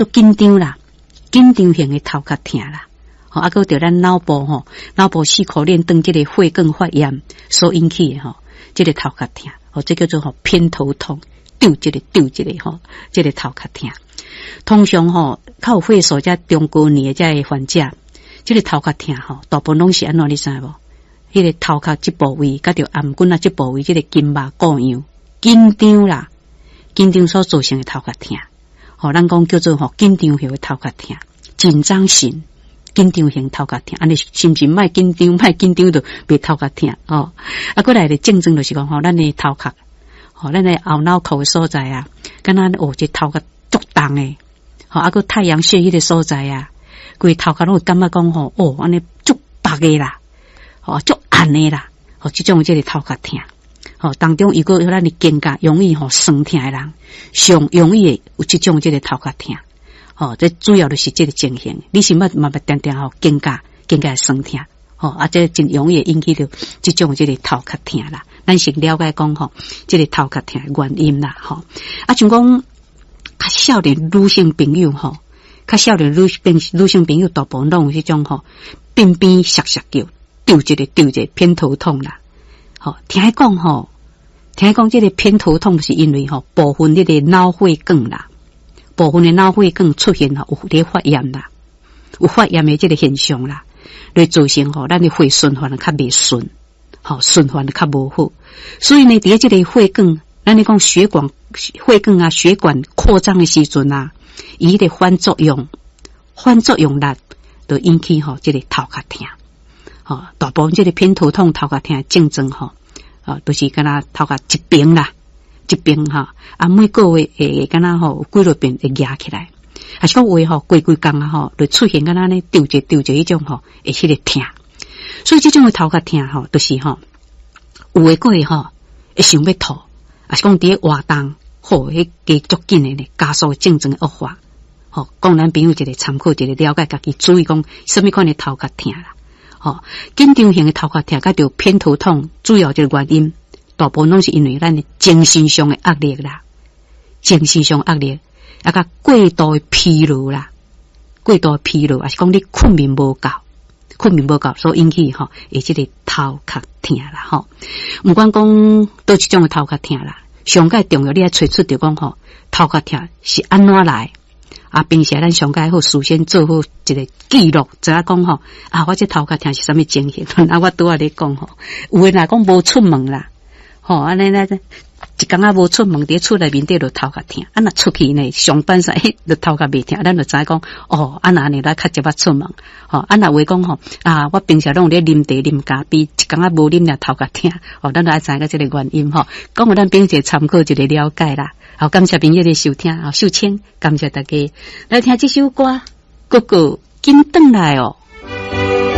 緊張啦，緊張型的頭殼疼啦。吼，啊，閣著咱腦部吼，腦部四顆鏈當這個血管發炎所引起的吼，這個頭殼疼，吼，這叫做吼偏頭痛，丟一个丟一个吼，這個頭殼疼。通常吼，較有歲數遮中高年的這个患者，這個頭殼疼吼，大部分攏是按怎你知無？彼個頭殼這部位，佮著頷頸仔這部位，這個筋肉固樣緊張啦，緊張所造成的頭殼疼。吼，咱講叫做吼緊張型的頭殼疼，緊張型。緊張型頭殼疼，按呢心情莫緊張，莫緊張就袂頭殼疼吼。啊，閣來的症狀就是講吼，咱的頭殼，吼，咱的後腦殼的所在啊，敢若哦，這頭殼足重的，吼，啊，閣太陽穴彼个所在啊，規頭殼攏會感覺講吼，哦，按呢足白的啦，吼，足暗的啦，吼，這種這个頭殼疼，吼，當中如果有咱的肩胛容易吼酸疼的人，上容易會有這種這个頭殼疼。吼，這主要就是這个情形。你是捌嘛捌定定吼肩胛肩胛酸疼，吼，啊，這真容易引起著這種這个頭殼疼啦。咱先了解講吼，這个頭殼疼的原因啦，吼。啊，像講較少年女性朋友吼，較少年女性朋友大部分攏有彼種吼，鬢邊澀澀叫，丟一个丟一個偏頭痛啦。吼，聽講吼，聽講這个偏頭痛是因為吼部分彼個腦血管啦。部分的腦血管出現吼有咧發炎啦，有發炎的這个現象啦，來造成吼咱的血循環較袂順，吼循環較無好，所以呢，佇這個血管，咱咧講血管血管啊，血管擴張的時陣啊，伊彼个反作用，反作用力就引起吼這个頭殼疼，吼大部分這个偏頭痛頭殼疼的症狀吼，啊，都是敢若頭殼一邊啦。這邊吼，啊，每個月會敢若吼有幾落遍會壓起來，還是講有的吼過幾工啊吼，就出現敢若呢丟一丟一彼種吼會彼个疼，所以這種的頭殼疼吼，就是吼有的閣會吼會想欲吐，抑是講佇咧活動吼，彼加足緊的呢，加速症狀的惡化，吼，供咱朋友一個參考，一個了解，家己注意講啥物款的頭殼疼啦，吼，緊張型的頭殼疼，佮著偏頭痛，主要這個原因。大部分攏是因為咱的精神上的壓力啦，精神上壓力，啊，佮過度的疲勞啦，過度的疲勞，抑是講你睏眠無夠，睏眠無夠所引起吼，會這個頭殼疼啦吼。毋管講佗一種的頭殼疼啦，上蓋重要，你愛揣出著講吼，頭殼疼是按怎來？啊，平時咱上蓋好事先做好一個記錄，知影講吼，啊，我這頭殼疼是啥物情形？啊，我拄仔咧講吼，有的若講無出門啦。吼，按呢咧，一工仔無出門，佇厝內面底就頭殼疼。啊，若出去呢，上班時就頭殼袂疼，咱就知講，哦，啊若按呢，咱較捷捌出門。吼，啊若話講吼，啊，我平時攏有咧啉茶、啉咖啡，一工仔無啉爾頭殼疼。吼，咱就愛知影這个原因吼。講予咱朋友一個參考，一個了解啦。好，感謝朋友的收聽，好，秀清，感謝大家來聽這首歌，哥哥緊轉來哦。